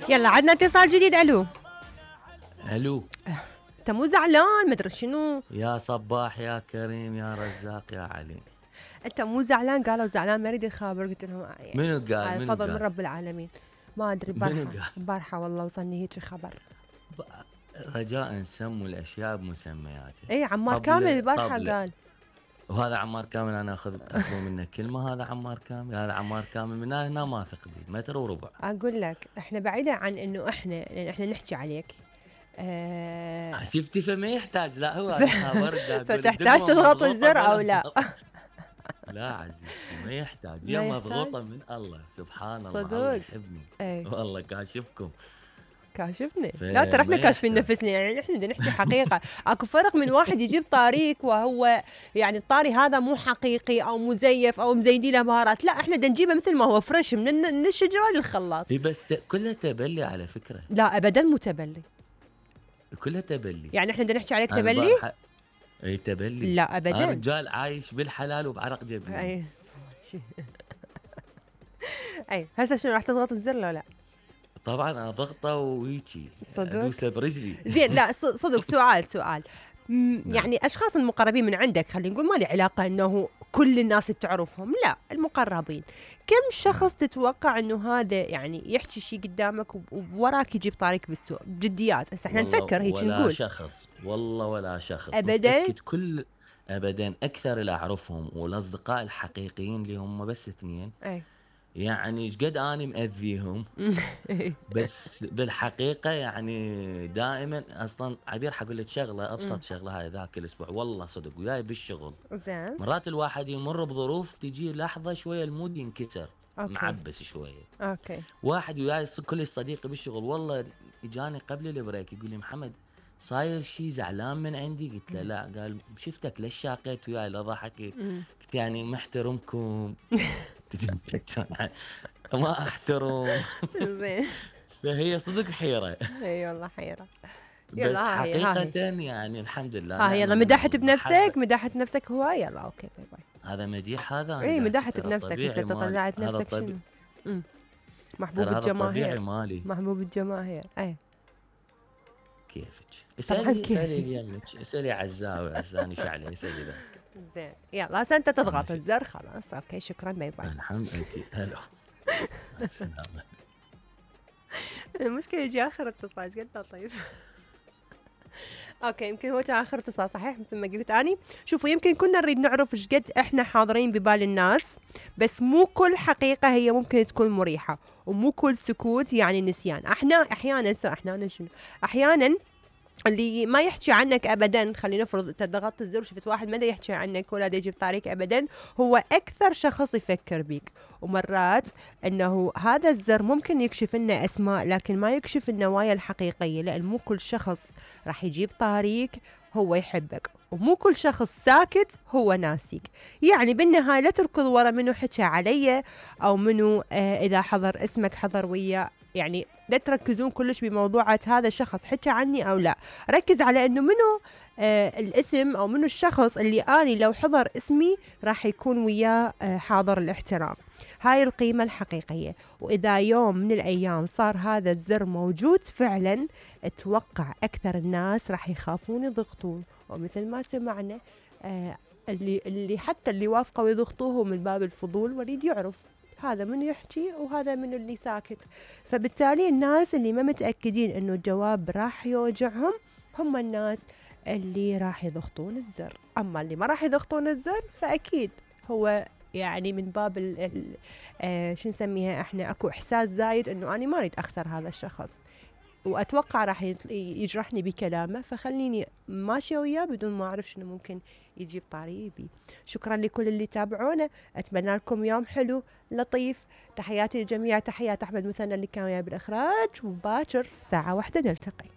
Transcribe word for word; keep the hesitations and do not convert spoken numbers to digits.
يلا عندنا اتصال جديد. الو الو، انت مو زعلان مدري شنو؟ يا صباح يا كريم يا رزاق يا علي. انت مو زعلان؟ قالوا زعلان ما اريد يخابر. قلت لهم يعني منو قال؟ هذا منو فضل قال؟ من رب العالمين. ما ادري منو البارحه قال؟ البارحه والله وصلني هيك خبر. رجاء سموا الاشياء بمسمياتها. اي عمار طبلة- كامل البارحه طبلة. قال. وهذا عمار كامل انا اخذ اخذ منه كلمه. هذا عمار كامل، هذا عمار كامل من هنا ما اثق به متر وربع. اقول لك احنا بعيدا عن انه احنا لان احنا نحكي عليك. آه شفتي فما يحتاج. لا هو هذا خبر فتحتاج تضغط الزر او لا؟ لا عزيزتي ما يحتاج. ما يا يحتاج. مضغوطه من الله سبحان الله. صدق. الله يحبني. اي والله كاشفكم. كاشفني. ف- لا ترى احنا ما كاشفين يحتاج. نفسنا، يعني احنا بدنا نحكي حقيقه. اكو فرق من واحد يجيب طاريك وهو يعني الطاري هذا مو حقيقي او مزيف او مزيدين له بهارات. لا احنا بدنا نجيبه مثل ما هو فريش من من الشجره للخلاط. هي بس ت- كلها تبلي على فكره. لا ابدا مو تبلي. كلها تبلي. يعني احنا بدنا نحكي عليك أنا تبلي؟ البارحة- اي تبلي. لا ابدا. انا رجال عايش بالحلال وبعرق جبين. اي اي هسه شنو راح تضغط الزر لو لا؟ طبعا انا ضغطه وهيجي صدق؟ ادوسه برجلي. زين لا ص- صدق سؤال سؤال م- نعم. يعني اشخاص المقربين من عندك خلينا نقول ما لي علاقه انه كل الناس تعرفهم، لا المقربين. كم شخص تتوقع انه هذا يعني يحكي شيء قدامك وب- ووراك يجيب طاريك بالسوق بجديات؟ هسه احنا والله نفكر هيك ولا نقول. شخص، والله ولا شخص أبداً؟ متأكد كل ابدا اكثر اللي اعرفهم والاصدقاء الحقيقيين اللي هم بس اثنين. اي يعني ايش قد اني مأذيهم بس بالحقيقه يعني دائما اصلا عبير حقول لك شغله ابسط شغله. هاي ذاك الاسبوع والله صدق وياي بالشغل زين مرات الواحد يمر بظروف تجي لحظه شويه المود ينكسر. اوكي معبس شويه. اوكي واحد وياي ص- كل صديقي بالشغل والله اجاني قبل البريك يقول لي محمد صاير شيء زعلان من عندي؟ قلت له لا. قال شفتك ليش شاقيت وياي لا ضحكت؟ مم. قلت يعني محترمكم. تجي تحكون ما احترم. زين فهي صدق حيره. اي والله حيره. بس يلا ها هي- ها هي. حقيقه يعني الحمد لله. ها يلا نعم مدحت المحبة. بنفسك مدحت بنفسك هو. يلا اوكي باي باي. هذا مديح. هذا اي أنا مدحت ترى بنفسك طبيعي هسه مالي. طلعت هذا نفسك طبيعي. شنو؟ امم محبوب ترى هذا طبيعي الجماهير. مالي. محبوب الجماهير. اي كيفك؟ طبعاً اسالي كيفي. اسالي يمك اسالي عزاوي عزاني شعلي اسالي ذا. زين يلا هسه انت تضغط ماشي. الزر خلاص. اوكي شكرا باي باي. الحمد لله. هلا مع السلامه. المشكله يجي اخر اتصال ايش قد طيب. اوكي يمكن هو كان اخر اتصال صحيح مثل ما قلت اني. شوفوا يمكن كنا نريد نعرف ايش قد احنا حاضرين ببال الناس، بس مو كل حقيقه هي ممكن تكون مريحه، ومو كل سكوت يعني نسيان. احنا احيانا سو احيانا شنو احيانا اللي ما يحكي عنك ابدا، خلينا نفرض انت ضغطت الزر وشفت واحد ما دا يحكي عنك ولا دا يجيب طريق ابدا، هو اكثر شخص يفكر بيك. ومرات انه هذا الزر ممكن يكشف لنا اسماء لكن ما يكشف النوايا الحقيقيه، لان مو كل شخص راح يجيب طريق هو يحبك، ومو كل شخص ساكت هو ناسيك. يعني بالنهايه لا تركض ورا منو حكى علي او منو آه اذا حضر اسمك حضر وياه. يعني لا تركزون كلش بموضوعة هذا الشخص حكى عني أو لا، ركز على أنه منو آه الاسم أو منو الشخص اللي أني لو حضر اسمي راح يكون وياه آه حاضر الاحترام. هاي القيمة الحقيقية. وإذا يوم من الأيام صار هذا الزر موجود فعلا، اتوقع أكثر الناس راح يخافون يضغطون. ومثل ما سمعنا آه اللي اللي حتى اللي وافقوا يضغطوه من باب الفضول وريد يعرف هذا من يحكي وهذا من اللي ساكت. فبالتالي الناس اللي ما متأكدين انه الجواب راح يوجعهم هم الناس اللي راح يضغطون الزر. اما اللي ما راح يضغطون الزر فاكيد هو يعني من باب ال ال آه شو نسميها احنا، اكو احساس زايد انه انا ما اريد اخسر هذا الشخص، واتوقع راح يجرحني بكلامه، فخليني ماشيه وياه بدون ما اعرف شنو ممكن يجيب طريقي. شكرا لكل اللي تابعونا، اتمنى لكم يوم حلو لطيف. تحياتي للجميع، تحيات احمد مثنى اللي كان وياي بالاخراج، وباكر ساعه واحدة نلتقي.